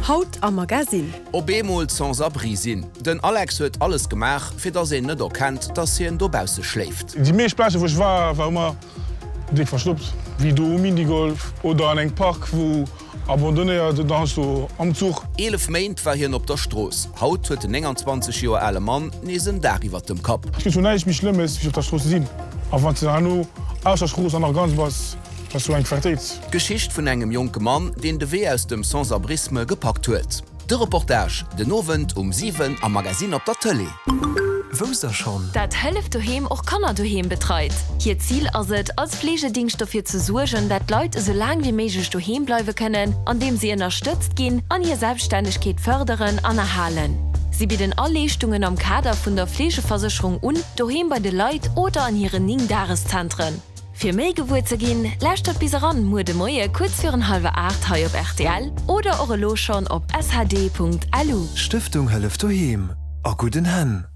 Haut am Magasinn. Op eemol sans abri sinn. Den Alex huet alles gemaach, fir dass een net erkennt, dass hien dobausse schléift. Déi meescht Plazen wou ech war, war ëmmer déck verstoppt, wéi do um Minigolf oder an engem Park wou abandonnéiert oder heiansdo am Zuch. 11 Méint war hien op der Strooss. Haut huet den 29 Joer ale Mann nees en Daach iwwert dem Kapp. Et gëtt jo näischt méi Schlëmmes wéi op der Strooss ze sinn, a wann s de herno aus der Strooss an nach ganz bass. Ass sou eng Quartéit. D'Geschicht vun engem jonke Mann, deen de Wee aus dem Sans-abrisme gepackt huet. De Reportage den Owend um 7 am Magazine op der Tëlee. Wousst der schonn? Dat Hëllef Doheem och Kanner doheem betreit. Hiert Zil ass et, als Fleegedingscht dofir ze suergen, dat d'Leit esou laang wéi méiglech doheem bleiwe kënnen, andeem si ënnerstëtzt ginn an hir Selbststännegkeet fërderen an erhalen. Si bidden all Leeschtungen am Kader vun der Fleegeversécherung un, doheem bei de Leit oder an hiren 9 Dageszentren. Fir méi gewuer ze ginn, lauschtert bis eran muer de Moie kuerz virun hallwer 8 hei op rtl oder och elo schonn op shd.lu. Stëftung Hëllef Doheem, a gudden Hänn!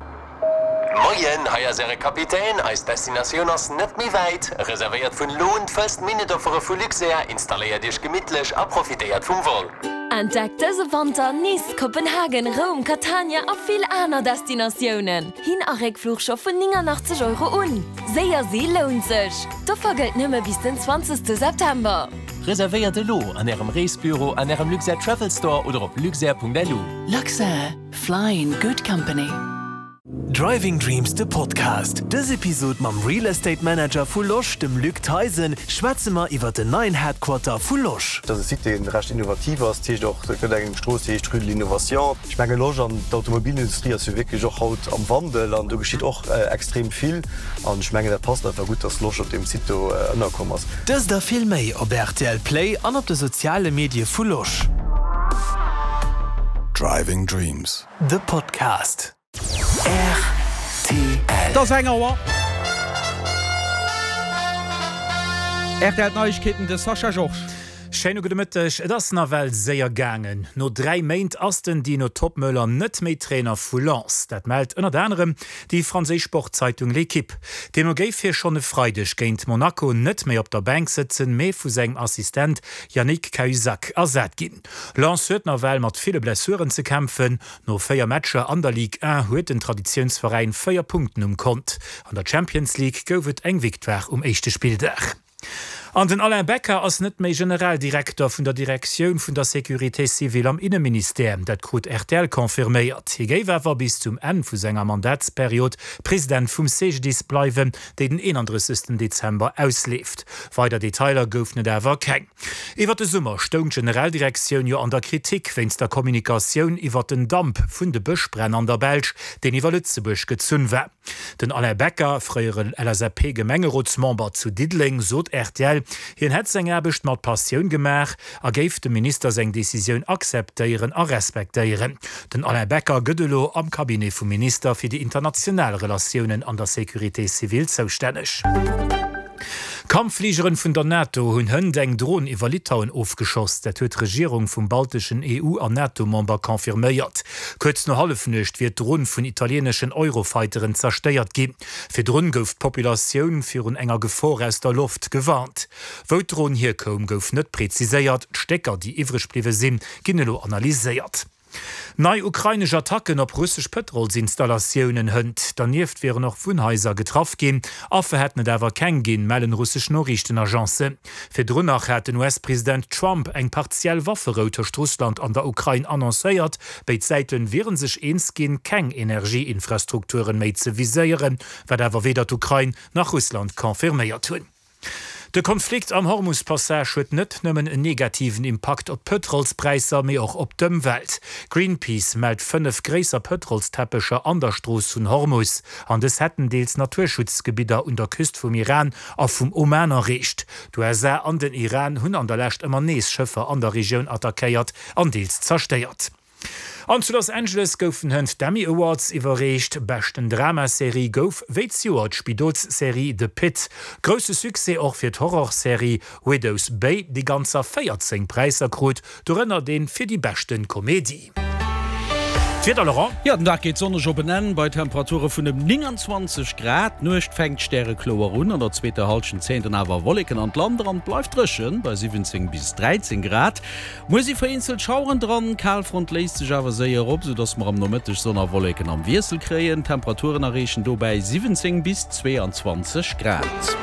Moien, hei ass äre Kapitän. Eis Destinatioun ass net méi wäit. Reservéiert vun elo un d'First-Minute-Offere vu Luxair, installéiert iech gemittlech a profitéiert vum Vol. Entdeckt dëse Wanter Nice, Kopenhagen, Roum, Catania a vill aner Destinatiounen. Hin a Réckfluch scho vun 89 Euro un. Séier si lount sech! D'Offer gëllt nëmme bis den 20 September. Reservéiert elo an Ärem Reesbüro, an Ärem Luxair Travel Store oder op luxair.lu. Luxair, fly in good company. Driving Dreams de Podcast. Dës Episod mam Real Estate Manager vu Losch, dem Luc Theisen, schwätze mer iwwert den neien Headquarter vu Losch. Et ass e Site, dee recht innovativ ass. Dat heescht och, et gëtt eng Strooss, déi heescht Rue de l'Innovation. Ech menge Losch an d'Automobilindustrie ass jo wierklech och haut am Wandel an do geschitt och extrem vill an ech mengen dat passt einfach gutt, dass Losch op deem Site do ënnerkomm ass. Dëst a vill méi op rtl Play an op de soziale Medie vu Losch. Driving Dreams. De Podcast. Rtl. Et ass eng Auer. Rtl Neiegkeeten, de Sascha Georges. Schéine gudde Mëtteg. Et ass nawell séier gaangen. No 3 Méint ass den Dino Toppmöller net méi Trainer vu Lens. Dat mellt ënnert anerem déi franséisch Sportzeitung L'Equipe. Deemno géif hie schonn e Freideg géint Monaco net méi op der Bänk sëtzen, mee vu sengem Assistent Yannick Cahuzac ersat ginn. Lens huet nawell mat ville Blessuren ze kämpfen. No 4 Matcher an der Ligue 1 huet den Traditiounsveräin 4 Punkten um Kont. An der Champions League gouf et eng Victoire um éischte Spilldag. An den Alain Becker ass net méi Generaldirekter vun der Direktioun vun der Sécurité civile am Inneministère. Dat krut rtl confirméiert. Hie géif awer bis zum Enn vu senger Mandatsperiod President vum CGDIS bleiwen, déi den 31 Dezember ausleeft. Weider Detailer goufen et awer keng. Iwwer de Summer stoung d'Generaldirektioun jo an der Kritik wéinst der Kommunikatioun iwwer den Damp vun de Bëschbränn an der Belsch, deen iwwer Lëtzebuerg gezunn war. Den Alain Becker, fréiere LSAP-Gemengerotsmember zu Diddeleng, sot rtl, hien hätt seng Aarbecht mat Passioun gemaach a géif dem Minister seng Decisioun akzeptéieren a respektéieren. Den Alain Becker gëtt elo am Cabinet vum Minister fir déi international Relatiounen an der Sécurité civile zoustänneg. Kampffligeren vun der NATO hunn hënt eng Dron iwwer Litauen ofgeschoss. Dat huet d'Regierung vum balteschen EU an NATO-Member confirméiert. Kuerz no Hallefnuecht wier d'Dron vun italieeneschen Eurofighteren zerstéiert ginn. Virdrun gouf d'Populatioun virun enger Gefor aus der Loft gewarnt. Wou d'Dron hierkoum, gouf net preziséiert. D'Stécker, déi iwwreg bliwwe sinn, ginn elo analyséiert. Nei ukrainesch Attacken op russesch Pëtrolsinstallatiounen hënt. Dernieft wieren och Wunnhaiser getraff ginn. Affer hätten et awer keng ginn, mellen russesch Noriichtenagencen. Virdrun nach hat den US-President Trump eng partiell Wafferou tëscht Russland an der Ukrain annoncéiert. Béid Säite wiere sech eens ginn, keng Energieinfrastrukturen méi ze viséieren, wat awer weder d'Ukrain nach Russland confirméiert hunn. De Konflikt am Hormus-Passage huet net nëmmen en negativen Impakt op d'Pëtrolspräisser, mee och op d'Ëmwelt. Greenpeace mellt 5 gréisser Pëtrolsteppecher an der Strooss vun Hormus, an dës hätten deels Naturschutzgebidder un der Küst vum Iran a vum Oman erreecht. D'USA an den Iran hunn an der Lescht ëmmer nees Schëffer an der Regioun attackéiert an deels zerstéiert. An zu Los Angeles goufen hënt d'Emmy Awards iwwerreecht. Beschten Dramaserie gouf wéi zejoert d'Spidolsserie The Pitt. Grousse Succès och fir d'Horrorserie Widow's Bay, déi ganzer 14 Präisser krut, dorënner dee fir déi beschte Komedie. D'Wieder, Laurent? Jo, den Dag geet sonneg op en Enn bei Temperature vun ëm 29 Grad. D'Nuecht fänkt stärekloer un, an der zweeter Hallschent zéien dann awer Wolleken an d'Land eran. Et bleift dréchen bei 17 bis 13 Grad. Muer si vereenzelt Schaueren dran, d'Kalfront léist sech awer séier op, soudass mer am Nomëtteg Sonn a Wolleken am Wiessel kréien. D'Temperaturen erreechen dobäi 17 bis 22 Grad.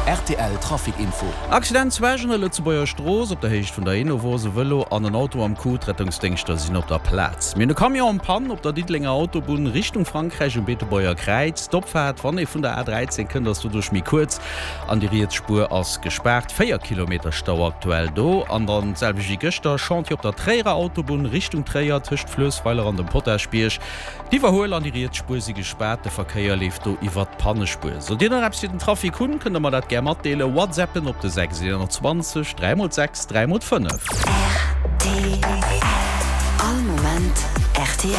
Rtl Trafic Info. Accident zu Esch an der Lëtzebuerger Strooss op der Héicht vun der Enovos. E Vëlo an en Auto am Coup. D'Rettungsdéngschter sinn op der Plaz. Mir hunn e Camion en Panne op der Diddelenger Autobunn Richtung Frankräich um Beetebuerger Kräiz. D'Opfaart, wann ee vun der A13 kënnt, ass doduerch méi kuerz an déi riets Spuer ass gespaart. 4 Kilometer Stau aktuell do. An dann d'selwecht wéi gëschter, Chantier op der Tréierer Autobunn Richtung Tréier tëscht Fluessweiler an dem Potaschbierg. D'Iwwerhuel an déi riets Spuer si gespaart, de Verkéier leeft do iwwert d'Pannespuer. Sollt Dir nach eppes fir den Trafic hunn, kënnt der mer dat gär matdeelen. Whatsappen op de 6 21 3 mol 6 3 mol 5. Rtl All Moment rtl.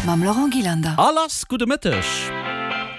Mam Laurent Gillander. A lass, gudde Mëtteg.